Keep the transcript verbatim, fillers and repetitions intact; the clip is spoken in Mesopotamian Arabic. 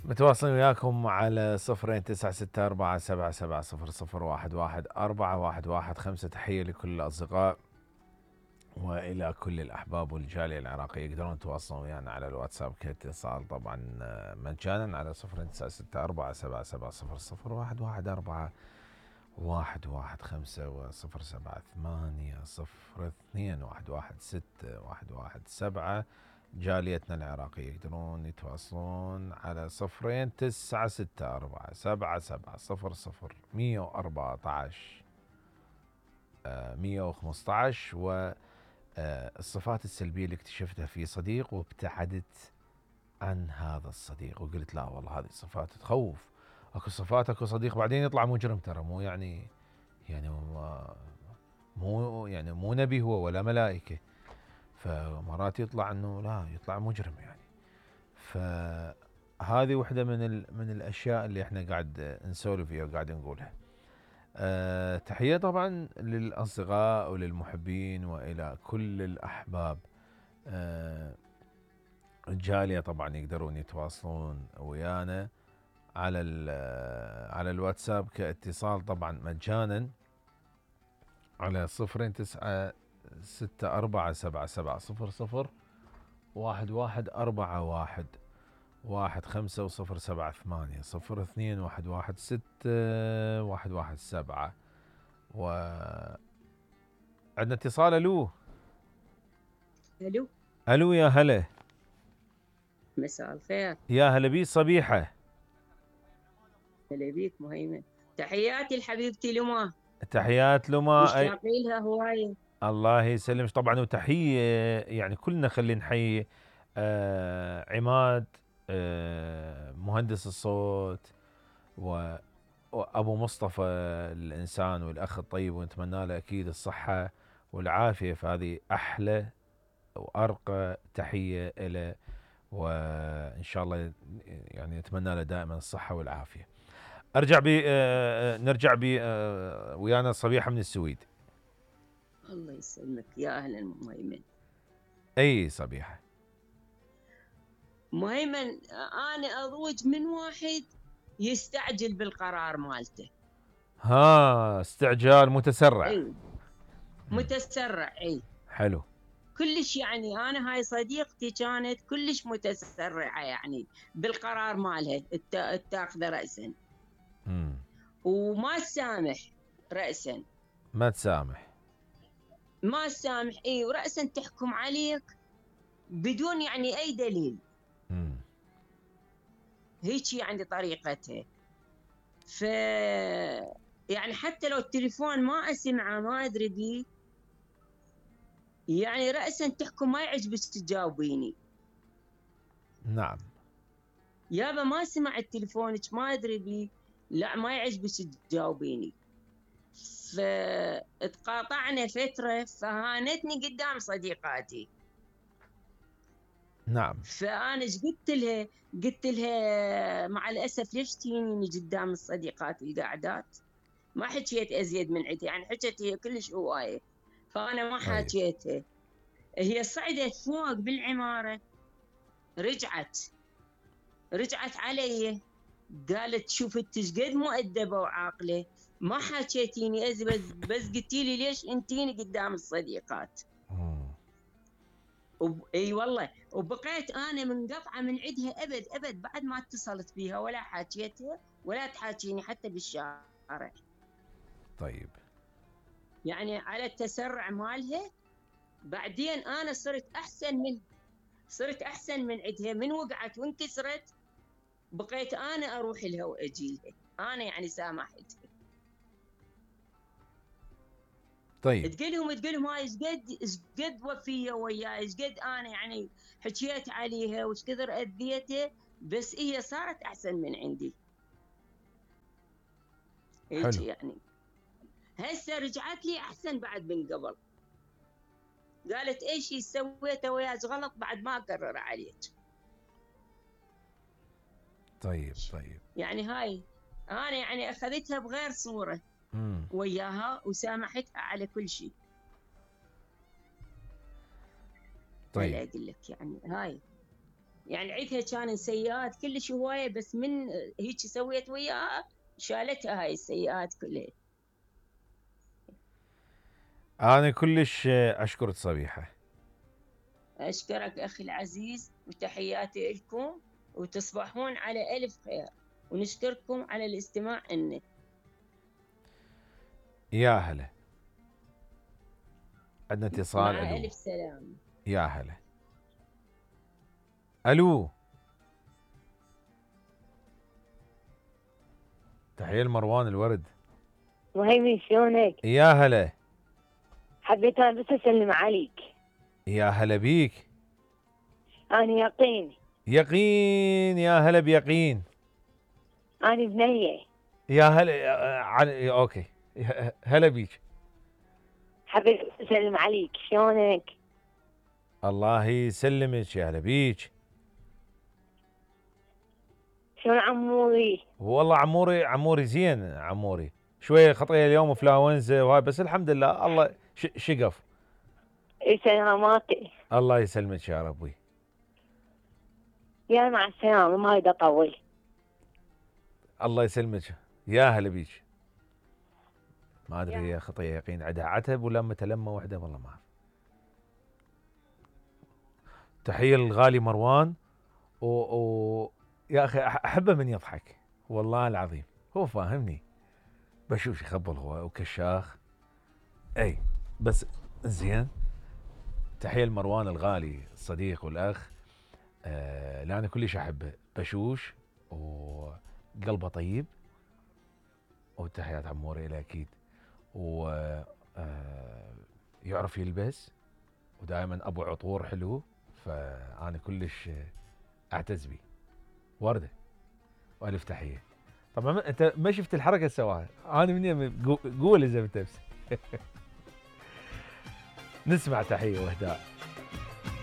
متواصلين وياكم على صفرين تسعة ستة أربعة سبعة سبعة صفر صفر واحد واحد أربعة واحد واحد خمسة. تحية لكل الأصدقاء وإلى كل الأحباب والجالية العراقية. يقدرون يتواصلون ويانا على الواتساب كاتصال طبعا مجانا على صفرين تسعة ستة أربعة سبعة سبعة صفر صفر واحد واحد أربعة واحد واحد خمسة وصفر سبعة ثمانية صفر اثنين واحد واحد ستة واحد واحد سبعة. جاليتنا العراقية يقدرون يتواصلون على صفرين تسعة ستة أربعة سبعة سبعة صفر صفر مية وأربعة عشر مية وخمسة عشر. والصفات السلبية اللي اكتشفتها في صديق وابتعدت عن هذا الصديق وقلت لا والله هذه صفات تخوف. اكو صفات اكو صديق بعدين يطلع مجرم ترى مو يعني يعني مو يعني مو نبي هو ولا ملائكة. فمرات يطلع انه لا يطلع مجرم يعني. فهذه وحده من من الاشياء اللي احنا قاعد نسولف فيها وقاعد نقولها. أه تحيه طبعا للاصدقاء وللمحبين والى كل الاحباب. أه الجاليه طبعا يقدرون يتواصلون ويانا على على الواتساب كاتصال طبعا مجانا على صفرين تسعة ستة أربعة سبعة سبعة صفر صفر واحد واحد أربعة واحد واحد خمسة وصفر سبعة ثمانية صفر اثنين واحد واحد ستة واحد واحد سبعة. و عندنا اتصال. الو الو الو يا هلا. مساء الخير. يا هلا بي صبيحة. هلا بيك مهيمن. تحياتي لحبيبتي لما. تحيات لما. مشتاقين لها هوايه. الله يسلمك طبعا. وتحية يعني كلنا خلي نحيي آه عماد آه مهندس الصوت و وابو مصطفى الانسان والاخ الطيب ونتمنى له اكيد الصحة والعافية. فهذه احلى وارقى تحية له وان شاء الله يعني نتمنى له دائما الصحة والعافية. ارجع بي آه نرجع بي آه ويانا صبيحة من السويد. الله يسلمك يا اهلا مهيمن. اي صبيحة. مهيمن انا اضوج من واحد يستعجل بالقرار مالته. ها استعجال متسرع. اي متسرع. اي حلو. كلش يعني انا هاي صديقتي كانت كلش متسرعه يعني بالقرار مالها التاخذه راسا. امم وما تسامح راسا. ما تسامح. ما تسامح اي وراسا تحكم عليك بدون يعني اي دليل. امم هيك يعني طريقتها. ف يعني حتى لو التليفون ما اسمعه ما ادري بيه يعني راسا تحكم ما يعجبك تجاوبيني. نعم. يابا ما سمعت تليفونك ما ادري بيه لا ما يعجبك تجاوبيني. فتقاطعنا فتره فهانتني قدام صديقاتي. نعم. فانا ايش قلت لها؟ قلت لها مع الاسف ليش تجيني قدام الصديقات القاعدات؟ ما حكيت ازيد من عندي يعني حكيت هي كلش هوايه فانا ما حكيتها. هي صعدت فوق بالعماره رجعت رجعت علي قالت شوف انت ايش قد مؤدبه وعاقله ما حكيتيني ازي بس بس قلتي لي ليش انتيني قدام الصديقات. وب... اي والله وبقيت انا منقطعه من عندها ابد ابد بعد ما اتصلت بيها ولا حاكيتها ولا تحاكيني حتى بالشارع. طيب. يعني على التسرع مالها بعدين انا صرت احسن من صرت احسن من عندها من وقعت وانكسرت بقيت انا اروح لها واجي لها انا يعني سامحتها. طيب. تقولهم تقولهم هاي ايش قد ايش قد وفيه وياي ايش قد انا يعني حكيت عليها وايش كثر اذيتها بس هي صارت احسن من عندي. هيك يعني هسه رجعت لي احسن بعد من قبل. قالت ايش سويته وياك غلط بعد ما اكرر عليك. طيب طيب. يعني هاي انا يعني اخذتها بغير صوره مم. وياها وسامحتها على كل شيء. طيب اقول لك يعني هاي يعني عيدها كان سيئات كلش هوايه، بس من هيك سويت وياها شالتها هاي السيئات كلها. انا كلش اشكرك صبيحه. اشكرك اخي العزيز، وتحياتي لكم، وتصبحون على الف خير، ونشكركم على الاستماع لنا. يا هلا. عندنا اتصال. مع الو. الف سلام. يا هلا. الو. تحية لمروان الورد. وهيمن شلونك؟ يا هلا. حبيت انا بس اسلم عليك. يا هلا بيك. انا يقين. يقين. يا هلا بيقين. انا بنيه. يا هلا. عن... اوكي. هلا بيك. حبيت اسلم عليك، شلونك؟ الله يسلمك. يا هلا بيك. شلون عموري؟ والله عموري عموري زين. عموري شويه خطيه اليوم وفلاونزا وهاي، بس الحمد لله الله ش... شقف. اي سلاماتي. الله يسلمك يا ربي. يا مع السلامه، ما اريد اطول. الله يسلمك. يا هلا بيك. ما ادري هي خطيه يقين عندها عتب ولا متلمه وحده، والله ما اعرف. تحيه للغالي مروان. و... و... يا اخي احبه من يضحك والله العظيم، هو فاهمني. بشوف يخبل هو وكشاخ. اي بس زين. تحيه لمروان الغالي الصديق والاخ. آه لا انا كلش احبه، بشوش وقلبه طيب. وتحيات عموري له اكيد. و آه يعرف يلبس، ودائما ابو عطور حلو، فانا كلش اعتز بيه. ورده والف تحيه. طبعا انت ما شفت الحركه اللي سواها، انا من قول اذا بتبس. نسمع تحيه واهداء.